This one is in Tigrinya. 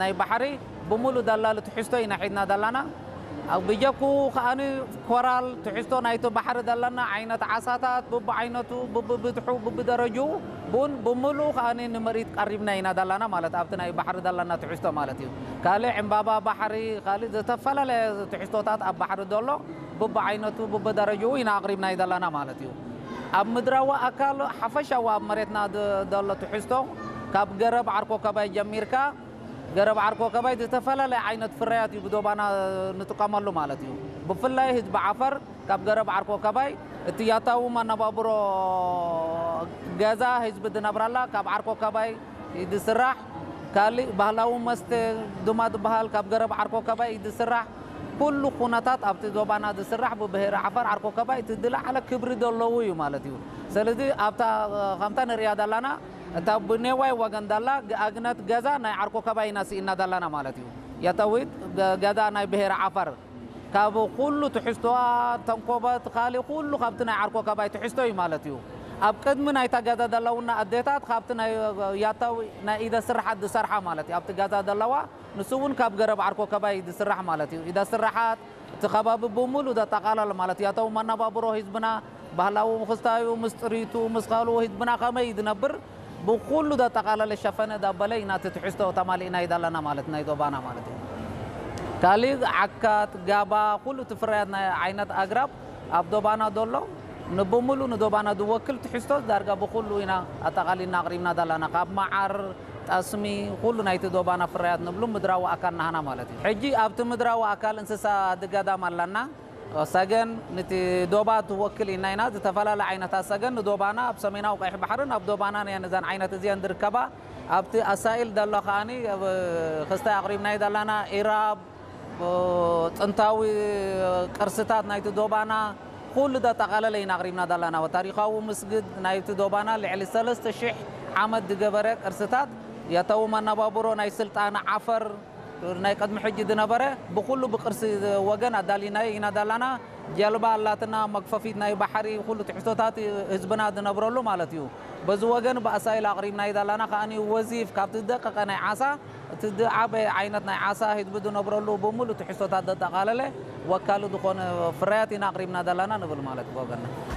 ናይ ባሕሪ ብምሉእ ደላሊ ትሕዝቶ ኢና ሒዝና ዘለና። ኣብ ብጀኩ ከኣኒ ኮራል ትሕዝቶ ናይቲ ባሕሪ ዘለና ዓይነት ዓሳታት ብብዓይነቱ፣ ብብብዝሑ፣ ብብደረጅኡ ቡን ብምሉእ ከኣኒ ንምርኢት ቀሪብና ኢና ዘለና ማለት ኣብቲ ናይ ባሕሪ ዘለና ትሕዝቶ ማለት እዩ። ካልእ ዕምባባ ባሕሪ፣ ካልእ ዝተፈላለየ ትሕዝቶታት ኣብ ባሕሪ ዘሎ ብብዓይነቱ፣ ብብደረጅኡ ኢና ኣቕሪብና ዘለና ማለት እዩ። ኣብ ምድራዊ ኣካል ሓፈሻዊ ኣብ መሬትና ድ-፣ ዘሎ ትሕዝቶ ካብ ገረብ ዓርኮ ከባይ ጀሚርካ ገረብ ዓርኮ ከባይ ዝተፈላለየ ዓይነት ፍርያት እዩ ብዶባና ንጥቀመሉ ማለት እዩ። ብፍላይ ህዝቢ ዓፈር ካብ ገረብ ዓርኮ ከባይ እቲ ያታዊ መነባብሮ ገዛ ህዝቢ ዝነብራላ ካብ ዓርኮ ከባይ እዩ ዝስራሕ። ካልእ ባህላዊ መስተ ድማ ዝበሃል ካብ ገረብ ዓርኮ ከባይ እዩ ዝስራሕ። ኩሉ ኩነታት ኣብቲ ዶባና ዝስራሕ ብብሄረ ዓፈር ዓርኮ ከባይ እቲ ዝለዓለ ክብሪ ዘለዎ እዩ ማለት እዩ። ስለዚ ኣብታ ከምታ ንሪኣ ዘለና እታ ብኔዋይ ወገን ዳላ ኣግነት ገዛ ናይ ዓርኮ ከባይ ኢና ስኢና ዳላና ማለት እዩ። ያታዊት ገ-፣ ገዛ ናይ ብሄረ ዓፈር ካብ ኩሉ ትሕዝቶኣ ተንኮበት ካልእ ኩሉ ካብቲ ናይ ዓርኮ ከባይ ትሕዝቶ እዩ ማለት እዩ። ኣብ ቅድሚ ናይታ ገዛ ዘለውና ኣዴታት ካብቲ ናይ ያታዊ ናይ ኢደ ስራሓት ዝሰርሓ ማለት እዩ። ኣብቲ ገዛ ዘለዋ ንሱ እውን ካብ ገረብ ዓርኮ ከባይ ዝስራሕ ማለት እዩ። ኢደ ስራሓት እቲ ከባቢ ብምሉ ዘጠቓለለ ማለት እዩ። ያታዊ መነባብሮ ህዝብና ባህላዊ ክስታዩ ምስ ጥሪቱ ምስ ካልኡ ህዝብና ከመይ ዝነብር ብኩሉ ዘጠቓለለ ሸፈነ ዳበለ ኢና እቲ ትሕዝቶ ተማሊእና ይዳለና ማለት ናይ ዶባና ማለት እዩ። ካልእ ዓካት፣ ጋባ፣ ኩሉ እቲ ፍርያት ናይ ዓይነት ኣግራብ ኣብ ዶባና ዘሎ ንብምሉ ንዶባና ዝወክል ትሕዝቶ ዳርጋ ብኩሉ ኢና ኣጠቓሊልና ኣቕሪብና ዘለና። ካብ መዓር፣ ጠስሚ፣ ኩሉ ናይቲ ዶባና ፍርያት ንብሉ ምድራዊ ኣካል ናህና ማለት እዩ። ሕጂ ኣብቲ ምድራዊ ኣካል እንስሳ ድገዳም ኣለና። ሰገን ንቲ ዶባ ትወክል ኢና ኢና። ዝተፈላለያ ዓይነታት ሰገን ንዶባና ኣብ ሰሜናዊ ቀይሕ ባሕርን ኣብ ዶባናን እየን እዘን ዓይነት እዚአን ዝርከባ። ኣብቲ ኣሳኢል ዘሎ ከኣኒ ኣብ ክስታይ ኣቕሪብናዮ ዘለና ኢራብ፣ ጥንታዊ ቅርስታት ናይቲ ዶባና ኩሉ ዘጠቓለለ ኢና ኣቕሪብና ዘለና። ታሪኻዊ ምስግድ ናይቲ ዶባና ልዕሊ ሰለስተ ሽሕ ዓመት ዝገበረ ቅርስታት፣ ያታዊ መነባብሮ ናይ ስልጣነ ዓፈር ናይ ቅድሚ ሕጂ ዝነበረ ብኩሉ ብቅርሲ ወገን ኣዳሊናዮ ኢና ዘለና። ጀልባ ኣላትና፣ መግፈፊት ናይ ባሕሪ፣ ኩሉ ትሕዝቶታት ህዝብና ዝነብረሉ ማለት እዩ። በዚ ወገን ብኣሳይል ኣቕሪብናዮ ዘለና ከኣኒ ወዚፍ ካብቲ ዝደቀቐ ናይ ዓሳ እቲ ዝዓበየ ዓይነት ናይ ዓሳ ህዝቢ ዝነብረሉ ብምሉእ ትሕዝቶታት ዘጠቓለለ ወካሊ ዝኾነ ፍርያት ኢና ኣቕሪብና ዘለና ንብል ማለት እዩ ብወገንና።